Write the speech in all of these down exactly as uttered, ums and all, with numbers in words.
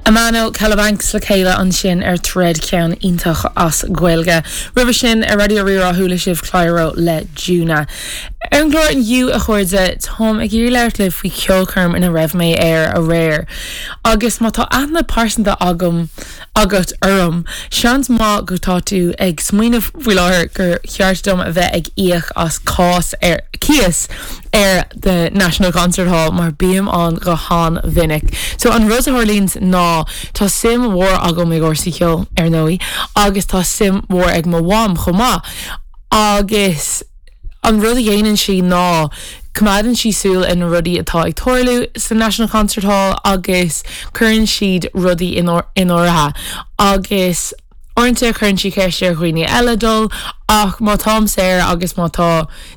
Amano Kalabanks le chéile ansin ar Thread ceann iontach as Gaeilge. Roimhe sin ar Raidió Rí-Rá chuala sibh Clairo le Dúna. Ar an gclár inniu a chairde táim ag iarraidh labhairt libh faoi cheolchoirm ina raibh mé ar aréir. Agus má tá aithne pearsanta agam agat orm, seans maith go tá tú ag smaoineamh faoi láthair gur cheart dom a bheith ag íoc as cás ar cíos ar the National Concert Hall mar bím ann go han-mhinic. So an rud a tharlaíonn ná tá suim mhór agam i gcúrsaí ceoil ar ndóigh agus tá suim mhór ag mo mham chomh maith. Agus an rud a dhéanann sí ná coimeádann sí súil ar na rudaí atá ag tarlú sa National Concert Hall agus cuireann siad rudaí in in áirithe agus uaireanta cuireann sí ceist ar dhaoine eile dul ach má táim saor agus má tá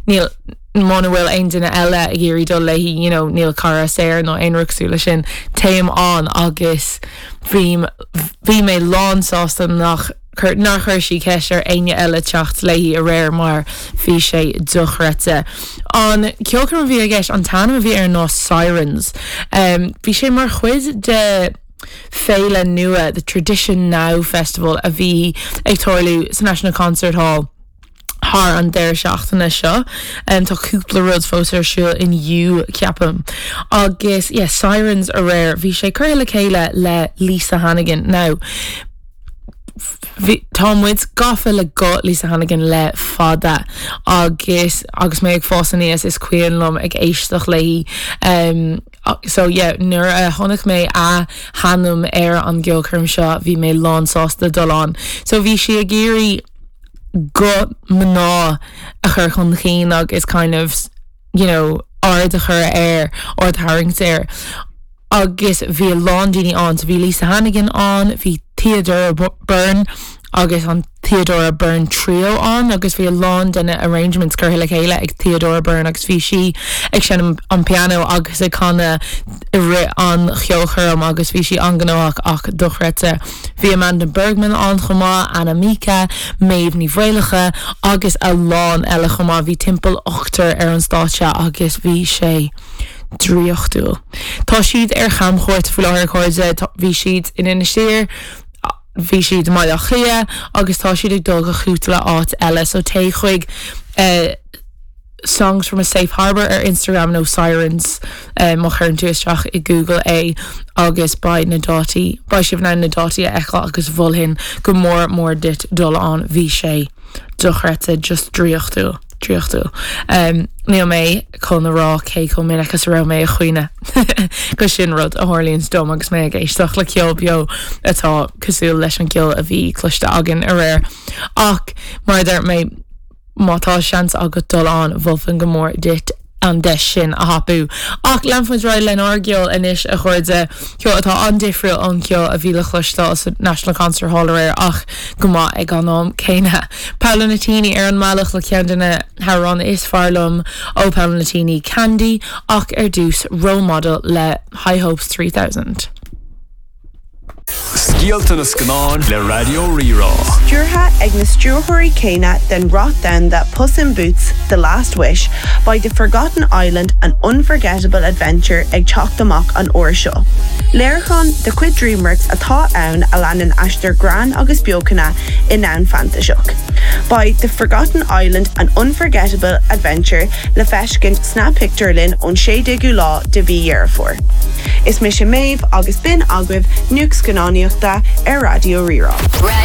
níl muna bhfuil aon duine eile ag iarraidh dul léi you know, níl cara saor nó aon rud cosúil leis sin téim ann agus bhí bhí mé lán sásta nach nach chuir sí ceist ar éinne eile teacht léi aréir mar bhí sé dochreidte. An ceolchoirm a bhí i gceist an t-ainm a bhí air ná Sirens. Um, bhí sé mar chuid de féile nua the Tradition Now Festival a bhí ag tarlú sa National Concert Hall. thar an deireadh seachtaine seo um, tá cúpla rud fós ar siúl inniu ceapaim. Agus yeah, Sirens aréir bhí sé curtha le chéile le Lisa Hannigan now. Tá muid gafa le guth Lisa Hannigan le fada agus agus mé ag fás aníos is cuimhin liom ag éisteacht léi um, so yeah, nuair a chonaic mé a hainm ar an gceolchoirm seo bhí mé lán sásta dul ann. So bhí sí ag iarraidh guth mná a chur chun cinn agus kind of you know, aird a chur air aird a tharraingt air. Agus bhí a lán daoine ann, so bhí Lisa Hannigan ann, bhí Theodora Byrne agus an Theodora Byrne Trio ann agus bhí a lán de na arrangements curtha le chéile ag Theodora Byrne agus bhí sí ag seinm an piano agus ag canadh i rith an cheolchoirm agus bhí sí an-ghnóthach ach dochreidte. Bhí Amanda Bergman ann chomh maith, Anna Mika, Méabh Ní Mhaolacha agus a lán eile chomh maith bhí timpeall ochtar ar an stáitse agus bhí sé draíochtúil. Tá siad ar chamchuairt faoi láthair cairde bhí siad in Inis Oírr, bhí siad i mBaile Átha Cliath agus tá siad ag dul go cúpla áit eile, so téigh chuig uh, Songs from a Safe Harbour ar Instagram nó Sirens um, má chuireann tú isteach i Google é agus beidh na dátaí beidh sibh in ann na dátaí a fheiceáil agus mholfainn go mór mór duit dul ann bhí sé dochreidte just draíochtúil draíochtúil. Um, Níl mé chun a rá cé chomh minic is a raibh mé ag caoineadh go sin rud a tharlaíonn dom agus mé ag éisteacht le ceol beo atá cosúil leis an gceol a bhí cloiste againn aréir. Ach mar a dúirt mé má tá seans agat dul ann mholfainn go mór duit an deis sin a thapú. Ach leanfaimid ar aghaidh lenár gceol anois a chairde ceol atá an-difriúil ón ceol a bhí le cloisteáil sa National Concert Hall aréir ach go maith ag an am céanna. Paolo Nutini ar an mbealach le ceann de na hamhráin is fearr liom ó Paolo Nutini Candy ach ar dtús Role Model le High Hopes three thousand. Scéalta na scannán le Raidió Rí-Rá. Stiúrtha ag na stiúrthóirí céanna den rath domhanda Puss in Boots, The Last Wish, beidh The Forgotten Island an Unforgettable Adventure ag teacht amach an uair seo. Léiriúchán de chuid DreamWorks atá ann a leanann aistear greann agus beochana i ndomhan fantaiseach. Beidh The Forgotten Island an Unforgettable Adventure le feiscint sna pictiúrlanna ón sé déagú lá de mhí Dheireadh Fómhair. Is mise Méabh agus b'in agaibh nuacht scannánaíochta ar Raidió Rí-Rá. Radio